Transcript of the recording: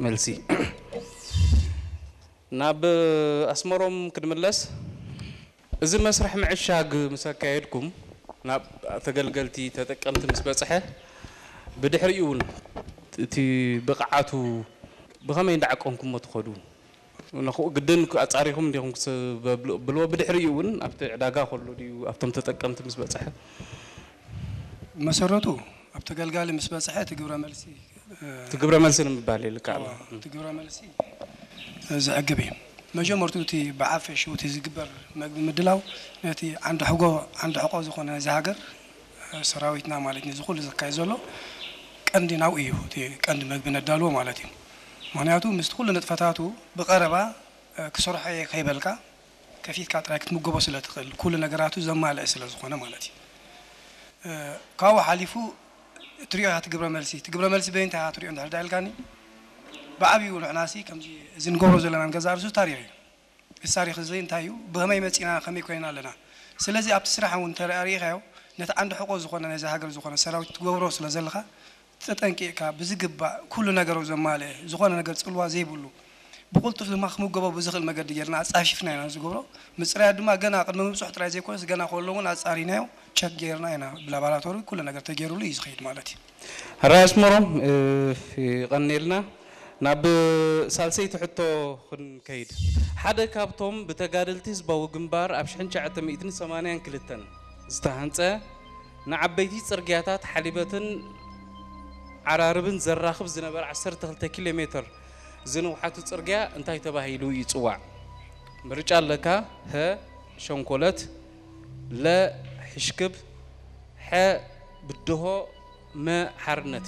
መልሲ። ናብ ኣስመሮም ክንምለስ፣ እዚ መስርሕ ምዕሻግ ምስ ኣካየድኩም ናብ ተገልገልቲ ተጠቀምቲ ምስ በጽሐ፣ ብድሕሪኡ እውን እቲ ብቕዓቱ ብኸመይ እንዳዓቀንኩሞ ትኸዱ? ንኹ ግድን ኣጻሪኹም እንዲኹም ክስ-፣ በብሎ-፣ ብልዎ ብድሕሪኡ እውን ኣብቲ ዕዳጋ ከሎ ድዩ ኣብቶም ተጠቀምቲ ምስ በጽሐ? መሰረቱ ኣብ ተገልጋሊ ምስ በጽሐ እቲ ግብረ መልሲ፣ እ፣ እቲ ግብረ መልሲ ንምባል ይልካ ኣሎ። እቲ ግብረ መልሲ፣ እ፣ ዘዕግብ እዩ። መጀመርቱ እቲ ብዓፈሽኡ እቲ ዝግበር መግቢ ምድላው ነቲ ዓንዲ ሕጎ፣ ዓንዲ ሕቆ ዝኾነ ናይዚ ሃገር፣ እ፣ ሰራዊትና ማለት እዩ። እዚ ኩሉ ዘካየድ ዘሎ ቀንዲ ናብኡ እዩ። እቲ ቀንዲ መግቢ ነዳልዎ ማለት እዩ። ምኽንያቱ ምስቲ ኩሉ ንጥፈታቱ ብቐረባ፣ እ፣ ክሰርሖ እየ ከይበልካ ከፊትካ ጥራይ ክትምገቦ ስለ ትኽእል፣ ኩሉ ነገራቱ ዘማልአ ስለ ዝኾነ ማለት እዩ። እ፣ ካብኡ ሓሊፉ ትሪኦ ኢኻ እቲ ግብረ መልሲ። እቲ ግብረ መልሲ በይንታ ኢኻ ትሪኦ እንድሕር ዳ ኢልካኒ፣ ብዓብዩ ንሕናሲ ከምዚ እዚ ንገብሮ ዘለና ንገዛእ ርእሱ ታሪኽ እዩ። እዚ ታሪኽ እዚ እንታይ እዩ? ብኸመይ መፂና፣ ከመይ ኮይና ኣለና? ስለዚ ኣብቲ ስራሕ እውን እንተ ርኢኻዮ፣ ነቲ ዓንዲ ሕቆ ዝኾነ ናይዛ ሃገር ዝኾነ ሰራዊት ትገብሮ ስለ ዘለኻ፣ ተጠንቂቕካ ብዝግባእ ኩሉ ነገሩ ዘማልአ፣ ዝኾነ ነገር ጽልዋ ዘይብሉ፣ ብቕልጡፍ ድማ ክምገቦ ብዝኽእል መገዲ ጌርና ኣጻፊፍና ኢና ዝገብሮ። ምጽራያት ድማ ገና ቅድሚ ምብጽሑ ጥራይ ዘይኮነስ፣ ገና ከሎ እውን ኣጻሪናዮ፣ ቸክ ጌርና ኢና፣ ብላቦራቶሪ ኩሉ ነገር ተገይሩሉ እዩ ዝኸይድ ማለት እዩ። ሕራይ ኣስመሮም፣ እ፣ ይቐንየልና። ናብ ሳልሰይቲ ሕቶ ክንከይድ። ሓደ ካብቶም ብተጋደልቲ ህዝባዊ ግንባር ኣብ ሽሕን ትሽዓተ ሚእትን ሰማንያን ክልተን ዝተሃንጸ ንዓበይቲ ጽርግያታት ሓሊበትን ዓራርብን ዘራኽብ ዝነበረ ዓሰርተ ክልተ ኪሎ ሜትር ዝንውሓቱ ጽርግያ እንታይ ተባሂሉ ይጽዋዕ? ምርጫ ኣለካ። ሀ፣ ሸንኮለት፣ ለ፣ ሕሽክብ፣ ሐ፣ ብድሆ፣ መ፣ ሓርነት።